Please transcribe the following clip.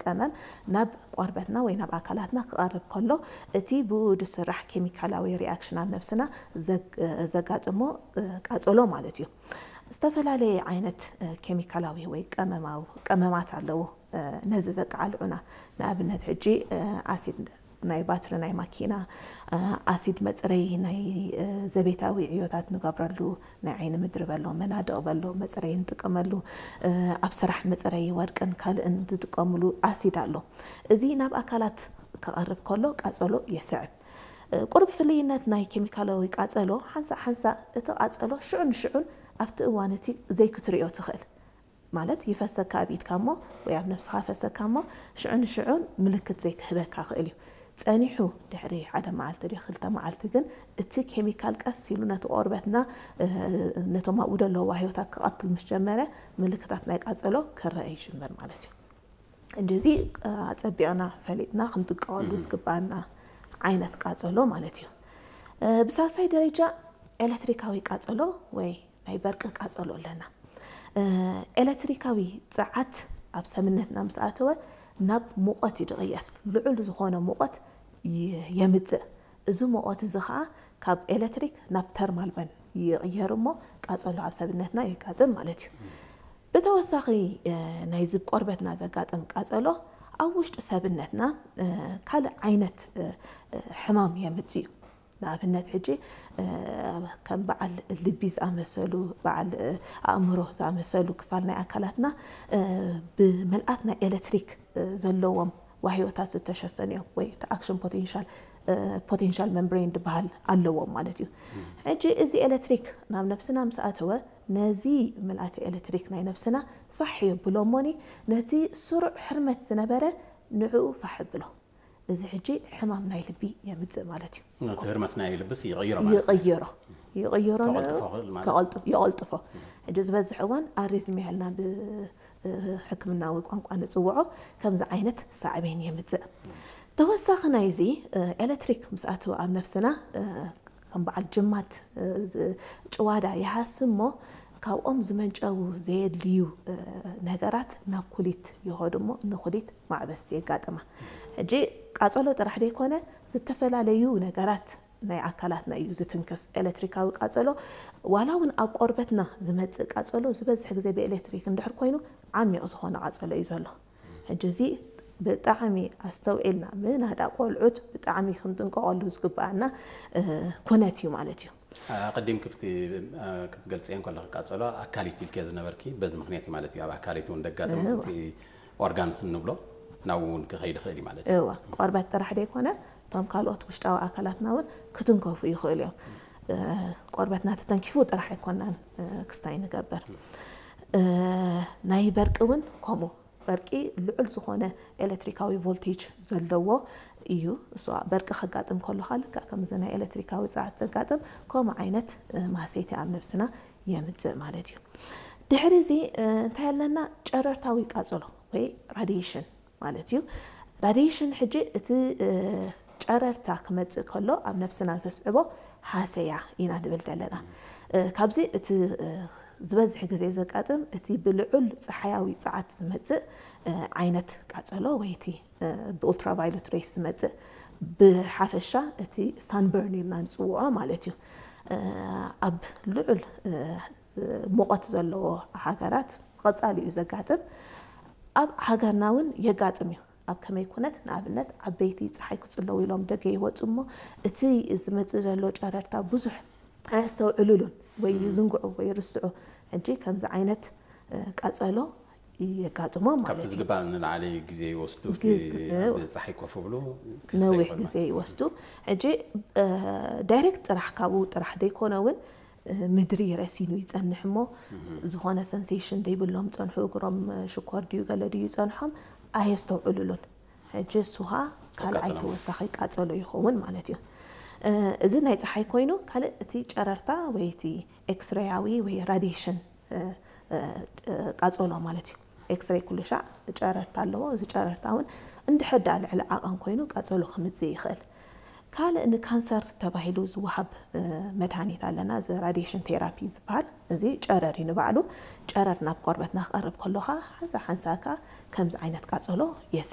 ቀመም ናብ ቆርበትና ወይ ናብ ኣካላትና ክቐርብ ከሎ እቲ ብኡ ዝስራሕ ኬሚካላዊ ሪኣክሽን ኣብ ነብስና ዘጋጥሞ ቃጸሎ ማለት እዩ። ዝተፈላለየ ዓይነት ኬሚካላዊ ወይ ቀመማዊ ቀመማት ኣለዉ ነዚ ዘቃልዑና። ንኣብነት ሕጂ ኣሲድ ናይ ባትሪ ናይ ማኪና፣ ኣሲድ መጽረዪ ናይ ዘቤታዊ ዕዮታት ንገብረሉ፣ ናይ ዓይኒ ምድሪ በሎ፣ መናድቕ በሎ መጽረዪ ንጥቀመሉ፣ ኣብ ስራሕ መጽረዪ ወርቅን ካልእን ዝጥቀምሉ ኣሲድ ኣሎ። እዚ ናብ ኣካላት ክቐርብ ከሎ ቃጸሎ የስዕብ። ቁሩብ ፍልይነት ናይ ኬሚካላዊ ቃጸሎ ሓንሳእ ሓንሳእ እቲ ቃጸሎ ሽዑ ንሽዑን ኣብቲ እዋን እቲ ዘይክትርእዮ ትኽእል። ማለት ይፈሰካ ኣብ ኢድካ እሞ ወይ ኣብ ነብስኻ ፈሰካ እሞ ሽዑ ንሽዑን ምልክት ዘይክህበካ ክእል እዩ። ጸኒሑ ድሕሪ ሓደ መዓልቲ ድዩ ክልተ መዓልቲ ግን እቲ ኬሚካል ቀስ ኢሉ ነቲ ቆርበትና ነቶም ኣብኡ ዘለዉ ዋህዮታት ክቐትል ምስ ጀመረ ምልክታት ናይ ቃጸሎ ክረአ ይጅምር ማለት እዩ። እንጂ እዚ ኣጸቢቕና ፈሊጥና ክንጥቀቐሉ ዝግባኣና ዓይነት ቃጸሎ ማለት እዩ። ብሳልሳይ ደረጃ ኤለክትሪካዊ ቃጸሎ ወይ ናይ በርቂ ቃጸሎ ኣለና። ኤለክትሪካዊ ጸዓት ኣብ ሰብነትና ምስ ኣተወ ናብ ሙቐት እዩ ዝቕየር። ልዑል ዝኾነ ሙቐት የምጽእ። እዚ ሙቐት እዚ ኸኣ ካብ ኤለክትሪክ ናብ ተርማል በን ይቕየር እሞ ቃጸሎ ኣብ ሰብነትና የጋጥም ማለት እዩ። ብተወሳኺ ናይዚ ቆርበትና ዘጋጥም ቃጸሎ ኣብ ውሽጢ ሰብነትና ካልእ ዓይነት ሕማም የምጽእ እዩ። ንኣብነት ሕጂ ከም በዓል ልቢ ዝኣመሰሉ፣ በዓል ኣእምሮ ዝኣመሰሉ ክፋል ናይ ኣካላትና ብምልኣት ናይ ኤለክትሪክ ዘለዎም ዋህዮታት ዝተሸፈኑ እዮም፣ ወይ እቲ ኣክሽን ፖቴንሻል ፖቴንሻል መምብሬን ዝበሃል ኣለዎም ማለት እዩ። ሕጂ እዚ ኤለክትሪክ ናብ ነብስና ምስ ኣተወ ነዚ ምልኣተ ኤለክትሪክ ናይ ነብስና ፋሕ የብሎ እሞኒ ነቲ ስሩዕ ህርመት ዝነበረ ንዕኡ ፋሕ ብሎ። እዚ ሕጂ ሕማም ናይ ልቢ የምጽእ ማለት እዩ። ነቲ ህርመት ናይ ልብስ ይቕይሮ ማለት እዩ። ይቕይሮ ይቕይሮ ንዕኡ ከቐልጥፎ ክእል ማለት። ከቐልጥፍ- የቐልጥፎ። ሕጂ ዝበዝሕ እዋን ኣሪዝም ያልና ብሕክምናዊ ቋንቋ ንጽውዖ ከምዚ ዓይነት ሳዕቤን የምጽእ። ተወሳኺ ናይዚ ኤለክትሪክ ምስ ኣተወ ኣብ ነብስና ከም በዓል ጅማት ጭዋዳ ይሃስሞ ካብኦም ዝመንጨዉ ዘየድልዩ ነገራት ናብ ኩሊት ይኸዱ እሞ ንኩሊት ማዕበስቲ የጋጥማ። ሕጂ ቃጸሎ ጥራሕ ደይኮነ ዝተፈላለዩ ነገራት ናይ ኣካላትና እዩ ዝትንክፍ። ኤለክትሪካዊ ቃጸሎ ዋላ እውን ኣብ ቆርበትና ዝመጽእ ቃጸሎ ዝበዝሕ ግዜ ብኤለክትሪክ እንድሕር ኮይኑ ዓሚቕ ዝኾነ ቃጸሎ እዩ ዘሎ። ሕጂ እዚ ብጣዕሚ ኣስተውዒልና ምናዳ ቆልዑት ብጣዕሚ ክንጥንቀቐሉ ዝግበኣና ኩነት እዩ ማለት እዩ። ኣቐዲም ክትገልፅየን ከለኺ ቃፀሎ ኣካሊት ኢልክዮ ዝነበርኪ በዚ ምክንያት እዩ ማለት እዩ። ኣብ ኣካሊት እውን ደጋጥም እቲ ኦርጋንስ እንብሎ ናብኡ እውን ክኸይድ ይኽእል እዩ ማለት እዩ። እወ፣ ቆርበት ጥራሕ ደይኮነ እቶም ካልኦት ውሽጣዊ ኣካላትና እውን ክትንከፉ ይኽእሉ እዮም። ቆርበትና ተተንኪፉ ጥራሕ ኣይኮናን ክስታይ ንገብር። ናይ በርቂ እውን ከምኡ በርቂ ልዑል ዝኾነ ኤለክትሪካዊ ቮልቴጅ ዘለዎ እዩ። እሱ በርቂ ከጋጥም ከሎ ከዓ ልክዕ ከምዚ ናይ ኤለክትሪካዊ ጸዓት ዘጋጥም ከምኡ ዓይነት ማህሰይቲ ኣብ ነብስና የምጽእ ማለት እዩ። ድሕሪ እዚ እንታይ ኣለና? ጨረርታዊ ቃጸሎ ወይ ራዲዬሽን ማለት እዩ። ራዲዬሽን ሕጂ እቲ ጨረርታ ክመጽእ ከሎ ኣብ ነብስና ዘስዕቦ ሃሰያ ኢና ንብል ዘለና። ካብዚ እቲ ዝበዝሕ ግዜ ዘጋጥም እቲ ብልዑል ጸሓያዊ ጸዓት ዝመጽእ ዓይነት ቃጸሎ ወይ እቲ ብኡልትራቫዮለት ሬይስ ዝመጽእ ብሓፈሻ እቲ ሳንበርን ኢልና ንጽውዖ ማለት እዩ። ኣብ ልዑል ሙቐት ዘለዎ ሃገራት ቀጻሊ እዩ ዘጋጥም። ኣብ ሃገርና እውን የጋጥም እዩ። ኣብ ከመይ ኩነት? ንኣብነት ዓበይቲ ጸሓይ ክጽለዉ ኢሎም ደገ ይወጹ እሞ እቲ ዝመጽእ ዘሎ ጨረርታ ብዙሕ ኣየስተውዕሉሉን ወይ ይዝንግዑ ወይ ይርስዑ። ሕጂ ከምዚ ዓይነት ቃጸሎ የጋጥሞም ማለት እዩ። ካብቲ ዝግባእ ንላዕሊ ግዜ ይወስዱ። እቲ ኣብ ጸሓይ ኮፍ ብሉ ነዊሕ ግዜ ይወስዱ። ሕጂ ዳይሬክት ጥራሕ ካብኡ ጥራሕ ደይኮነ እውን ምድሪ ረሲኑ ይጸንሕ እሞ ዝኾነ ሰንሴሽን ደይብሎም ጸንሑ፣ እግሮም ሽኮር ድዩ ገለ ድዩ ይጸንሖም ኣየስተውዕሉሉን። ሕጂ እሱ ኸዓ ካልኣይ ተወሳኺ ቃጸሎ ይኸውን ማለት እዩ። እዚ ናይ ጸሓይ ኮይኑ ካልእ እቲ ጨረርታ ወይ እቲ ኤክስሬያዊ ወይ ራዲዬሽን ቃጸሎ ማለት እዩ። ኤክስሬይ ኩሉ ሻዕ ጨረርታ ኣለዎ። እዚ ጨረርታ እውን እንድሕር ደኣ ልዕሊ ዓቐን ኮይኑ ቃጸሎ ክምጽእ ይኽእል። ካልእ ንካንሰር ተባሂሉ ዝወሃብ መድሃኒት ኣለና፣ እዚ ራዲዬሽን ቴራፒ ዝበሃል። እዚ ጨረር እዩ ንባዕሉ። ጨረር ናብ ቆርበትና ክቐርብ ከሎ ኸዓ ሓንሳ ሓንሳ ከኣ ከምዚ ዓይነት ቃጸሎ የስዕብ።